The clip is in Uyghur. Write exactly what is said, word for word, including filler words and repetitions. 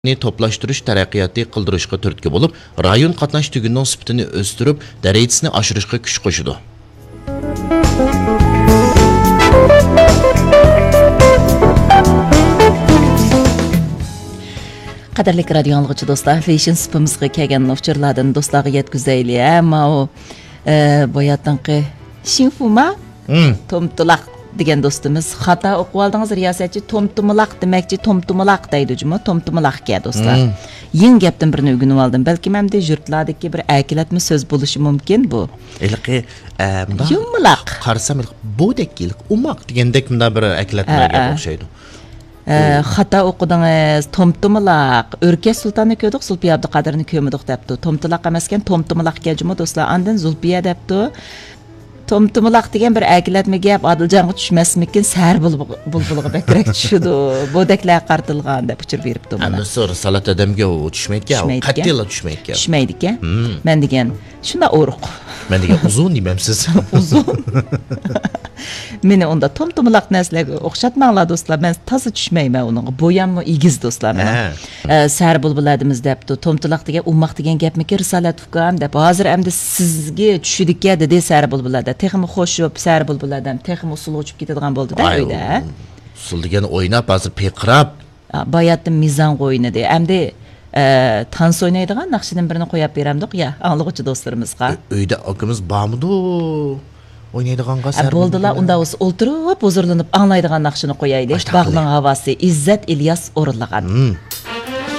توپلاشتۇرۇش تەرەققىياتى قىلدۇرۇشقا تۈرتكە بولۇپ، رايون قاتناش تۈگۈنىنىڭ سۈپىتىنى ئۆستۈرۈپ، دەرىجىسىنى ئاشۇرۇشقا كۈچ قوشىدۇ. قەدىرلىك رادىيو ئاڭلىغۇچى دوستلار، فېشن سۇپىمىزغا كەلگەن ئۇچۇرلاردىن دوستلارغا يەتكۈزەيلى. ھە، ماۋۇ، ئە، باياتىنقى شىڭفۇما؟ تومتۇلاق دېگەن دوستىمىز، خاتا ئوقۇۋالدىڭىز رىياسەتچى، تومتۇمىلاق دېمەكچى، تومتۇمىلاق دەيدۇ جۇمۇ، تومتۇمىلاقكەن دوستلار. يېڭى گەپتىن بىرنى ئۆگىنىۋالدىم. بەلكىم ئەمدى يۇرتلاردىكى بىر ئەركىلەتمە سۆز بولۇشى مۇمكىن بۇ. ھېلىقى، ئە، مۇنداق يۇمىلاق. قارىسام، ھېلىقى بودەك، ھېلىقى ئوماق دېگەندەك مۇنداق بىر ئەركىلەتمىگە ئوخشايدۇ. ئە، خاتا ئوقۇدىڭىز، تومتۇمىلاق. ئۆركەش سۇلتاننى كۆردۇق، زۇلپىيە ئابدۇقادىرنى كۆرمىدۇق دەپتۇ. تومتۇلاق ئەمەسكەن، تومتۇمىلاقكەن جۇمۇ دوستلار. ئاندىن زۇلپىيە دەپتۇ. تومتۇمىلاق دېگەن بىر ئەركىلەتمە گەپ، ئادىلجانغا چۈشمەسمىكىن، سەھەر بۇلبۇ-، بۇلبۇلىغا بەكرەك چۈشىدۇ. بودەكلەرگە قارىتىلغان دەپ ئۇچۇر بېرىپتۇ مانا. ئەمدى سۇ رىسالەت ئادەمگە ئۇ چۈشمەيدىكەن، ئۇ چۈشمەيدىكەن. قەتئىيلا چۈشمەيدىكەن. چۈشمەيدىكەن. مەن دېگەن، شۇنداق ئورۇق. مەن دېگەن، ئۇزۇن دېمەمسىز؟ ئۇزۇن. مېنى ئۇندا تومتۇمىلاق نەرسىلەرگە ئوخشاتماڭلار دوستلار، مەن تازا چۈشمەيمەن ئۇنىڭغا. بوياممۇ ئېگىز دوستلار مېنىڭ. ھە. ئە، سەھەر بۇلبۇلى ئادىمىز دەپتۇ، تومتۇلاق دېگەن ئوماق دېگەن گەپمىكىن رىسالەت ئۇكام دەپ. ھازىر ئەمدى سىزگە چۈشىدىكەن دېدى سەھەر بۇلبۇلى ئادەم. تېخىمۇ خوشۇپ، سەھەر بۇلبۇلى ئادەم تېخىمۇ ئۇسسۇلغا ئۇچۇپ كېتىدىغان بولدى-دە ئۆيدە. ئۇسسۇل دېگەن ئويناپ، ھازىر پىرقىراپ. ئا، باياتتىن مىزانغا ئوينىدى. ئەمدى، ئە، تانسا ئوينايدىغان ناخشىدىن بىرنى قوياپ بېرەمدۇق يا، ئاڭلىغۇچى دوستلىرىمىزغا. ئۆ-، ئۆيدە ئاكىمىز بارمىدۇ؟ ئوينايدىغانغا ئە، سەھەر بولدىلا، بۇلبۇلى. ئۇندا بولسا ئولتۇرۇپ ھۇزۇرلىنىپ ئاڭلايدىغان ناخشىنى قويايلى. ئاشتاق باغنىڭ ھاۋاسى، ئىززەت ئىلياس ئورۇنلىغان.